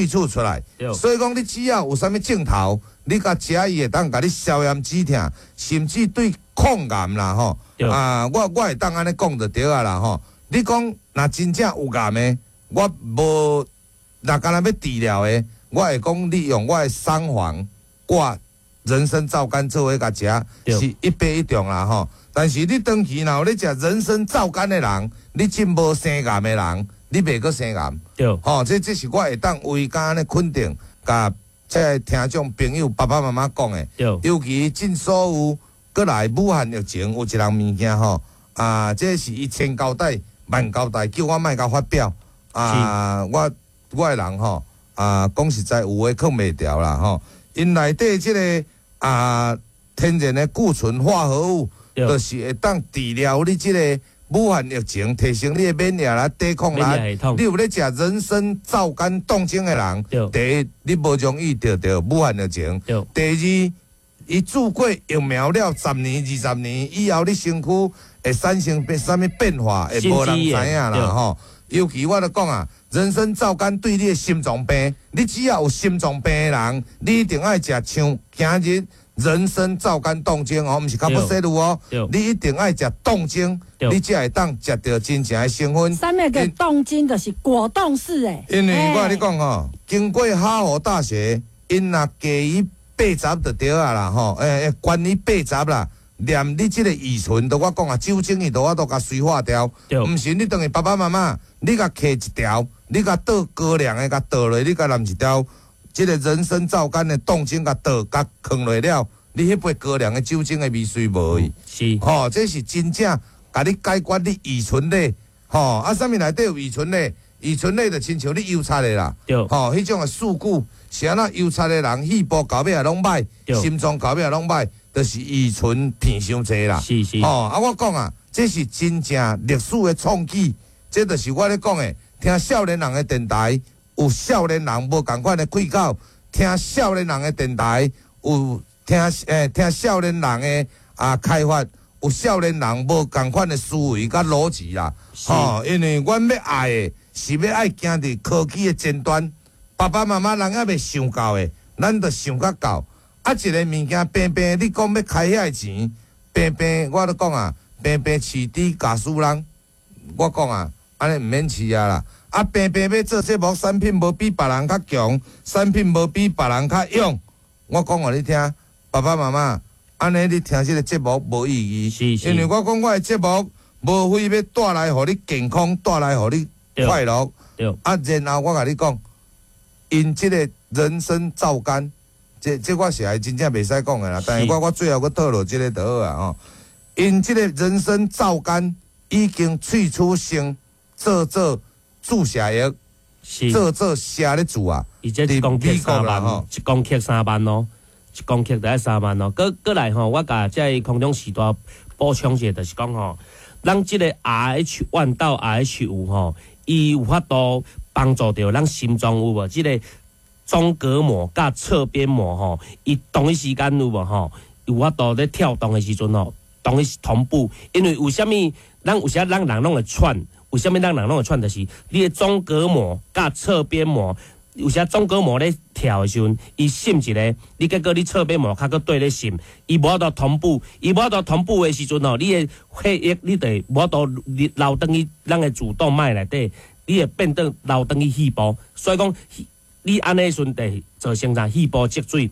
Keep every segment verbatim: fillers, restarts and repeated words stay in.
萃取出來。所以講，你只要有啥物症頭，你共食伊會當共你消炎止疼，甚至對抗癌啦吼。啊，我我會當按呢講就對啊啦吼。你講若真正有癌的，我無若干焦欲治療的，我會講你用我的桑黃掛人參皂苷做伙共食，是一百一中啦吼。但是你長期若有咧食人參皂苷的人，你真無生癌的人，你袂閣生癌。對，吼，這這是我會當為敢按呢肯定，共這个聽眾朋友爸爸媽媽講的。對，尤其進所有閣來武漢疫情有一項物件吼，啊，這是伊千交代萬交代，叫我莫共發表。啊，我我的人吼，啊，講實在有話囥袂牢啦吼。𪜶內底這个啊天然的固醇化合物，就是會當治療你這个武漢疫情，提升你的免疫力、抵抗力。你有咧食人參皂苷凍精的人，第一你無容易著著武漢疫情。第二，伊注過疫苗了十年、二十年以後，你身軀會產生變啥物變化，會無人知影啦吼。尤其我著講啊，人參皂苷對你的心臟病，你只要有心臟病的人，你一定愛食像今日人參皂苷凍精哦，毋是卡布西露哦，你一定愛食凍精，你才會當食著真正的成分。啥物叫凍精？就是果凍式的。因為我共你講吼，經過哈佛大學，𪜶若加以八十就對啊啦吼，欸，關於八十啦。連你這个乙醇，都我講啊，酒精伊都我都共催化掉。毋是你轉去爸爸媽媽，你共摕一條，你共倒高粱的，共倒落，你共淋一條，這个人參皂苷的凍精共倒，共囥落了，你彼杯高粱的酒精的味隨無去。是，吼，這是真正共你解決你乙醇咧，吼，啊，啥物內底有乙醇咧？乙醇咧就親像你油漆的啦，吼，彼種的事故是按怎油漆的人，肺部到尾也攏歹，心臟到尾也攏歹，就是乙醇片傷濟啦。是是。吼，啊，我講啊，這是真正歷史的創舉，這就是我咧講的。聽少年人的電台，有少年人無仝款的氣口；聽少年人的電台，有聽欸聽少年人的啊開發，有少年人無仝款的思維佮邏輯啦。吼，因為阮欲愛的是欲愛行佇科技的前端，爸爸媽媽人猶未想到的，咱就想較到。啊，一个物件平平，你講欲開遐个錢，平平，我咧講啊，平平飼豬咬死人，我講啊，按呢毋免飼啊啦。啊，平平欲做節目，產品無比別人較強，產品無比別人較勇。我講予你聽，爸爸媽媽，按呢你聽這个節目無意義，是是因為我講我的節目無非欲帶來予你健康，帶來予你快樂。對。啊，然後我共你講，𪜶這个人參皂苷，這這我是還真正袂使講的啦。但是我我最後閣透露這个就好啊吼。𪜶這个人參皂苷已經萃取成做做注射液，是做做射咧注啊。伊這一公克三萬，一公克三萬哦，一公克就愛三萬哦。閣閣來吼，我共這个空中時代補充一下，就是講吼，咱這个 R H one 到 R H 五吼，伊有法度幫助著咱心臟有無？這个中隔膜佮側邊膜吼，伊同一時間有無吼？有法度咧跳動的時陣吼，同一同步。因為為啥物咱有時咱人攏會喘？為啥物咱人攏會喘？就是你的中隔膜佮側邊膜，有時中隔膜咧跳的時陣，伊滲一个，你結果你側邊膜較閣綴咧滲，伊無法度同步，伊無法度同步的時陣吼，你的血液你就無法度流轉去咱的主動脈內底，你會變轉流轉去肺部，所以講你按呢時陣就會造成啥肺部積水，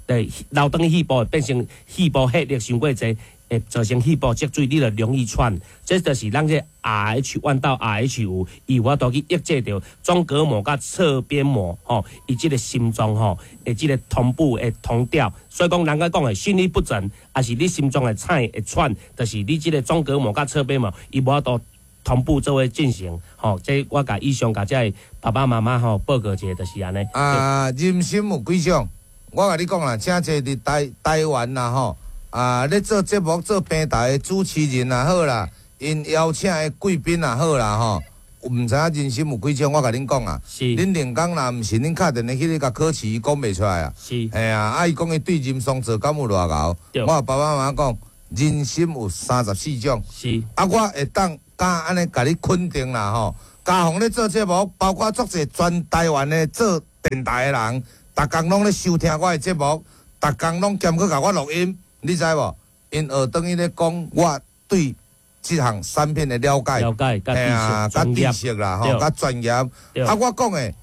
就流轉去肺部會變成肺部血液傷過濟，會造成肺部積水，你就容易喘。這就是咱這 R H one 到 R H 五，伊有法度去抑制著中隔膜佮側邊膜吼，伊這个心臟吼，會這个同步會同調。所以講，人家講的心律不整，抑是你心臟會喘會喘，就是你這个中隔膜佮側邊膜，伊無法度同步做伙進行。吼，這我共以上共這个爸爸媽媽吼報告一下，就是按呢。啊，人參有幾種？我共你講啦，誠濟佇台台灣啦吼，啊，咧做節目做平台的主持人也好啦，𪜶邀請的貴賓也好啦吼，毋知影人參有幾種？我共恁講啊，是恁連工若毋是恁敲電話去咧共考試，伊講袂出來啊。是。嘿啊，啊伊講伊對人參做敢有偌𠢕？對我爸爸媽媽講，人參有三十四種。是。啊，我會當敢按呢共你肯定啦吼。嘉宏咧做節目，包括足濟全台灣的做電台的人，逐工攏咧收聽我的節目，逐工攏兼閣共我錄音，你知無？𪜶學轉去咧講我對這項產品的了解，了解，嘿啊，佮知識啦，吼，佮專業。啊，我講的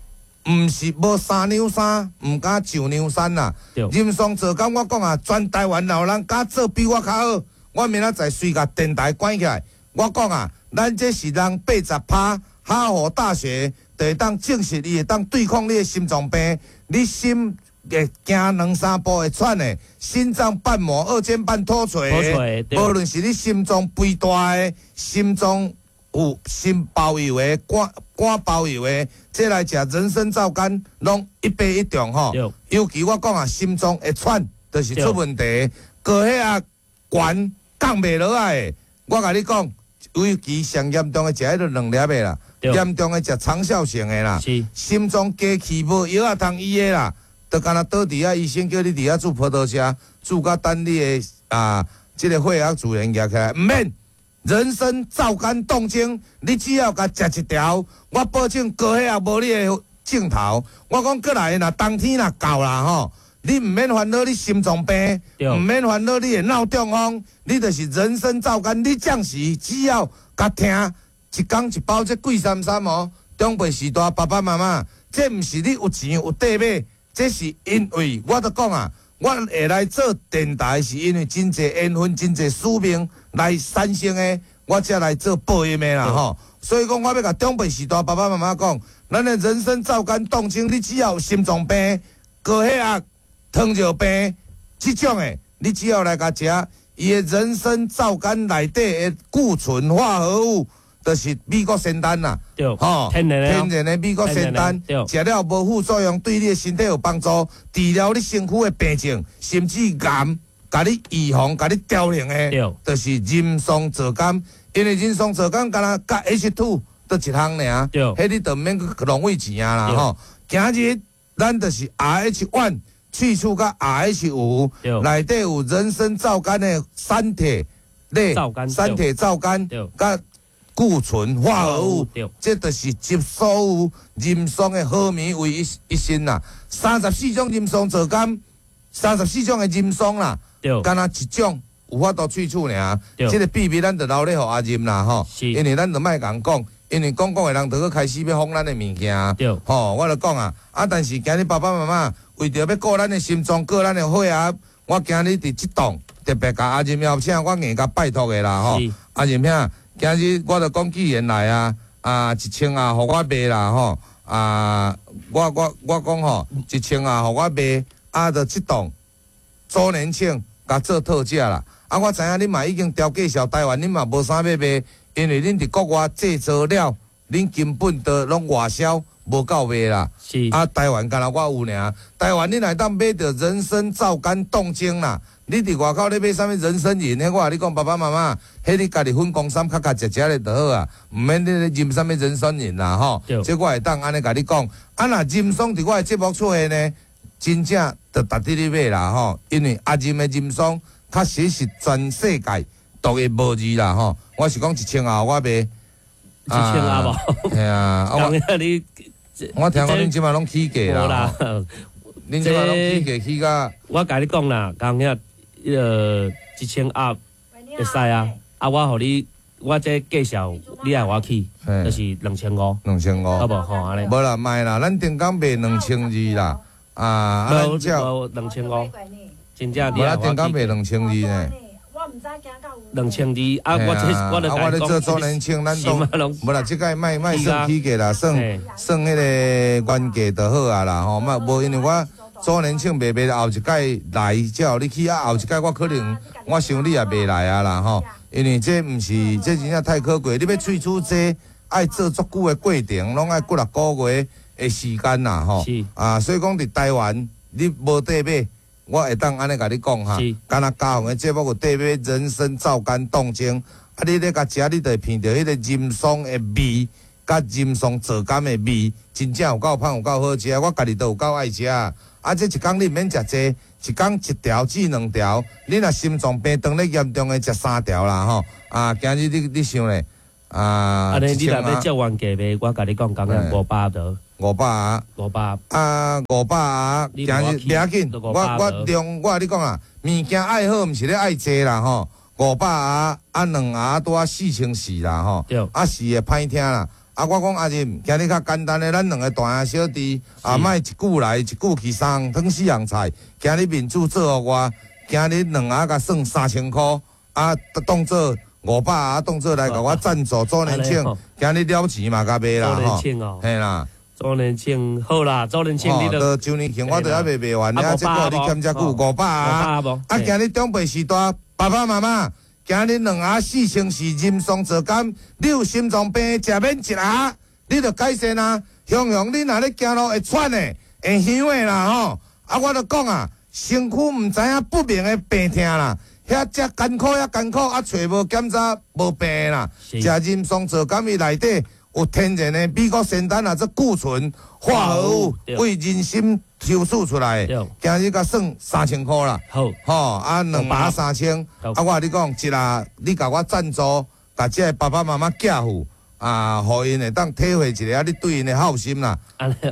毋是無三兩三，毋敢上梁山啦。人桑皂苷，我講啊，全台灣若有人敢做比我較好，我明仔載隨共電台關起來。我講啊，咱這是人八十趴，哈佛大學就會當證實伊會當對抗你的心臟病，你心會行兩三步會喘的，心臟瓣膜二尖瓣脫垂的，無論是你心臟肥大的，心臟有心包油的，肝肝包油的，這來食人參皂苷，攏一發一中吼。尤其我講啊，心臟會喘，就是出問題，高血壓懸降袂落來的，我共你講，尤其上嚴重的食彼个兩粒的啦，嚴重的食長效性的啦，心臟加氣無藥仔通醫的啦。就敢若倒佇遐，醫生叫你佇遐注波多車，注到等你的啊，這个血壓自然壓起來，毋免人參皂苷凍精，你只要共食一條，我保證高血壓無你的症頭。我講過來若冬天若到啦吼，你毋免煩惱你心臟病，毋免煩惱你的腦中風，你就是人參皂苷，你暫時只要共聽一工一包，這貴三三哦。長輩序大爸爸媽媽，這毋是你有錢有地買。這是因為我著講啊，我會來做電台，是因為真濟緣分、真濟使命來產生的，我才來做播音的啦吼。所以講，我欲共長輩序大爸爸媽媽講，咱的人參皂苷凍精，你只要有心臟病、高血壓、糖尿病這種的，你只要來共食，伊的人參皂苷內底的固醇化合物，就是美國仙丹啦，吼，天然天然的美國仙丹，食了無副作用，對你的身體有幫助，治療你身軀的病症，甚至癌，共你預防、共你調靈的，就是人參皂苷。因為人參皂苷敢若佮 H two 佗一項爾，彼你就毋免去浪費錢啊啦吼。今日咱就是 R H one 萃取佮 R H 五，內底有人參皂苷的三鐵類，三鐵皂苷佮固醇化合物，這就是集所有人參的好物為一一身啦。三十四種人參皂苷，三十四種的人參啦，敢若一種有法度萃取爾。這个秘密咱就留咧予阿任啦吼，因為咱就莫共講，因為講講的人就閣開始欲封咱的物件。吼，我就講啊，啊，但是今日爸爸媽媽為著欲顧咱的心臟，顧咱的血壓，我今日佇這檔特別共阿任邀請，我硬共拜託的啦吼，阿任兄。今日我就講，既然來啊，啊一千啊，予我賣啦吼，啊我我我講吼，一千啊，予我賣，啊就這檔周年慶共做特價啦。啊，我知影恁嘛已經調價銷台灣，恁嘛無啥欲賣，因為恁佇國外製造了，恁根本都攏外銷，無夠賣啦。是啊，台灣敢若我有爾，台灣你若會當買著人參皂苷凍精啦。你佇外口咧買啥物人參飲？彼我共你講，爸爸媽媽，彼你家己粉公參較較食食咧就好啊，毋免你咧啉啥物人參飲啦吼。這我會當按呢共你講。啊，若人參佇我的節目出現呢，真正就值得你買啦吼。因為阿任的人參確實是全世界獨一無二啦吼。我是講一千後我賣一千啊無？係啊，我你我聽講恁這擺攏起價啦。恁這擺攏起價起甲。我共你講啦，剛遐。彼个一千盒會使啊，啊，我予你，我這介紹你愛我去，就是兩千五，兩千五，好無吼按呢？無啦，莫啦，咱頂工賣兩千二啦，啊，無無兩千五，真正無啦，頂工賣兩千二呢。兩千二啊！我這我啊，我咧做周年慶，咱都無啦，這屆莫莫算起價啦，算算彼個原價就好啊啦，吼，莫無因為我。周年慶賣賣，後一擺來才予你去啊！後一擺我可能我想你也袂來啊啦吼，因為這毋是這真正太可貴，你欲萃取這愛做足久的過程，攏愛幾若個月的時間啦吼。啊，所以講佇台灣你無得買，我會當按呢共你講哈。敢若嘉宏的節目有得買人參皂苷凍精，啊，你咧共食，你就會鼻著彼個人參的味，佮人參皂苷的味，真正有夠芳，有夠好食。我家己都有夠愛食。啊！這一工你毋免食濟，一工一條至兩條。你若心臟病當咧嚴重的，食三條啦吼。啊，今日你你想咧，啊，按呢你若欲照原價賣，我共你講，剛剛五百就。五百盒。五百。啊，五百盒，今日袂要緊，我我量我共你講啊，物件愛好，毋是咧愛濟啦吼。五百盒啊，兩盒拄仔四千四啦吼。啊是會歹聽啦。啊，我講阿任，今日較簡單的，咱兩个大兄小弟啊，莫一句來一句去，三項湯四項菜。今日面子做予我，今日兩盒共算三千箍，啊，當做五百盒，當做來共我贊助周年慶。今日了錢嘛，共賣啦吼。嘿啦。周年慶好啦，周年慶你都周年慶我都猶未賣完，啊，這個你欠遮久五百盒。啊，今日長輩時代，爸爸媽媽。今日兩盒四千四，人參皂苷，你有心臟病，食免一盒，你就改善啊。雄雄，你若咧行路會喘的、會香的啦吼。啊，我就講啊，身軀毋知影不明的病痛啦，遐遮艱苦遐艱苦，啊，揣無檢查無病啦。食人參皂苷伊內底有天然的美國仙丹啊，這固醇化合物為人參抽取出來，今日共算三千箍啦。好，吼啊，兩盒三千。啊，我共你講，一下你共我贊助，共這个爸爸媽媽寄付啊，予𪜶會當體會一下你對𪜶的孝心啦。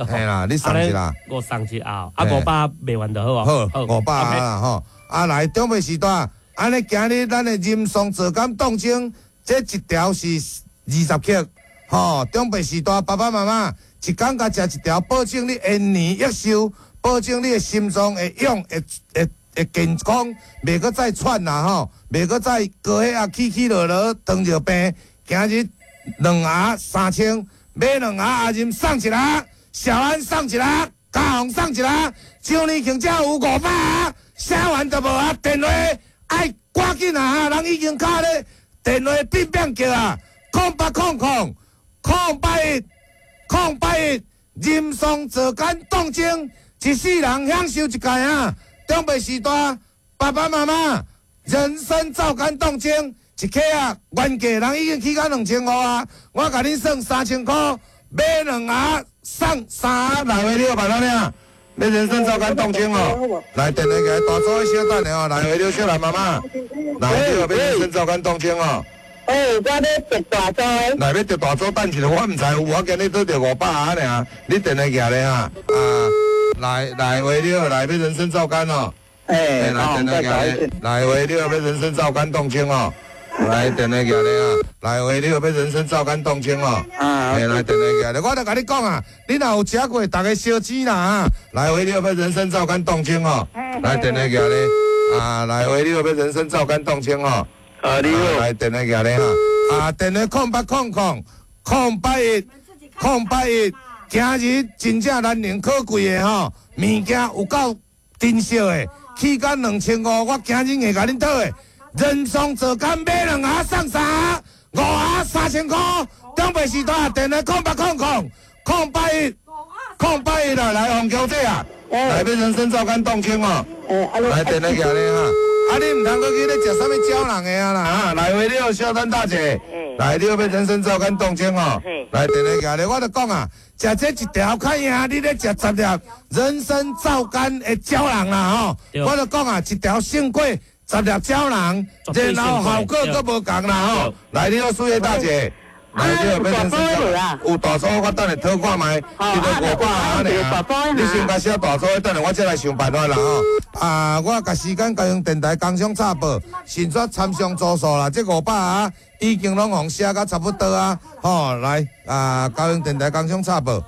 嘿啦，你送一下。我送一下，啊，五百賣完就好啊。好，五百啦吼。啊，來長輩時代，按呢今日咱的人參皂苷凍精，這一條是二十克，吼，長輩時代爸爸媽媽。一工共食一條，保證你延年益壽，保證你的心臟會勇會會會健康，袂閣再喘啦吼，袂閣再高血壓起起落落，糖尿病。今日兩盒三千，買兩盒阿任送一盒，小安送一盒，嘉宏送一盒，周年慶才有五百盒，寫完就無啊。電話愛趕緊啊！人已經敲咧，電話變變叫啊，空八空空空八一。空八一，人參皂苷凍精，一世人享受一屆啊！長輩時代，爸爸媽媽人參皂苷凍精一克啊，原價人已經起到兩千五啊！我共恁算三千箍，買兩盒送三盒，來回你有辦法爾？欲人參皂苷凍精哦，來電話過來，大組小等下哦，來回你小蘭媽媽，來你有欲人參皂苷凍精哦。欸，我欲著大組。來欲著大組，等一下，我毋知有，我今日拄著五百盒爾，你電話寄咧哈？啊，來來喂，你好，來欲人參皂苷哦。欸，來電話寄咧，來喂，你好，欲人參皂苷凍精哦。來電話寄咧啊，來喂，你好，欲人參皂苷凍精哦。啊，來電話寄咧，我就共你講啊，你若有食過，逐家燒錢啦啊。來喂，你好，欲人參皂苷凍精哦。來電話寄咧，啊，來喂，你好，欲人參皂苷凍精哦。啊，你好，來電話寄咧哈，啊，電話空八空空空八一空八一，今日真正難能可貴的吼，物件有夠珍惜的，起價兩千五，我今日會共恁討的，人參皂苷買兩盒送三盒，五盒三千箍，長輩時代電話空八空空空八一空八一啦，來黃小姐啊，來欲人參皂苷凍精哦，來電話寄咧哈。啊！你毋通閣去咧食啥物鳥人的啊啦！啊，來喂，你好，小丹大姐，來，你好，欲人參皂苷凍精哦。來，電話寄咧，我就講啊，食這一條較贏，你咧食十粒人參皂苷的膠囊啦吼。我就講啊，一條勝過十粒膠囊，然後效果閣無仝啦吼。來，你好，蘇葉大姐。來，你好，欲人參皂，有大組，我等下討看覓，這個五百盒爾。你先共寫大組，等下我再來想辦法啦吼。啊，我共時間交用電台工商插播，先煞參詳組數啦。這五百盒已經攏予寫甲差不多啊。吼，來啊，交用電台工商插播。